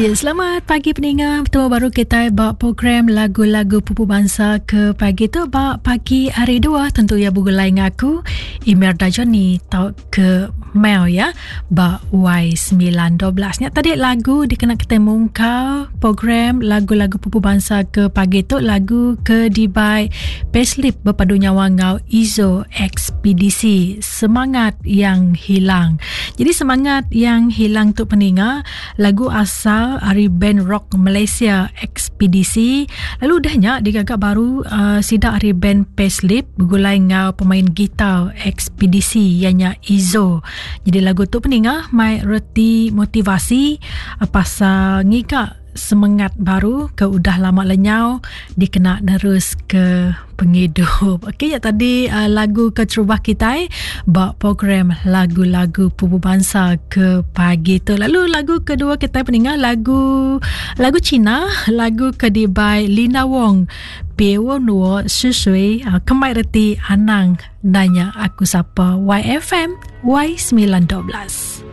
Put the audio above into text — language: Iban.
Ya, selamat pagi peninga. Bertemu baru kita ba program lagu-lagu pupu bangsa ke pagi tu ba pagi hari dua tentu ya begulai dengan aku Imelda Johnny tau ke Mel ya ba Y912. Nya tadi lagu dikena kita mungkal program lagu-lagu pupu bangsa ke pagi tu lagu ke dibai Payslip berpadu nyawa ngau Izo XPDC Semangat Yang Hilang. Jadi semangat yang hilang tu peninga Lagu asal ari band rock Malaysia XPDC lalu udah nya digaga baru uh, sida ari band Payslip begulai enggau pemain gitar XPDC iya nya Izo. Jadi lagu tu peninga mai reti motivasi uh, pasal ngiga semengat baru ke udah lama lenyau dikena nerus ke pengidup. Okey, ya tadi uh, lagu keterubah kitai ba program lagu-lagu pupu bangsa ke pagi tu. Lalu lagu kedua kitai peninga lagu lagu Cina, lagu ke dibai Linda Wong. Pie Wo Nuo Shi Shui, uh, kemai reti anang nanya aku sapa YFM Y912.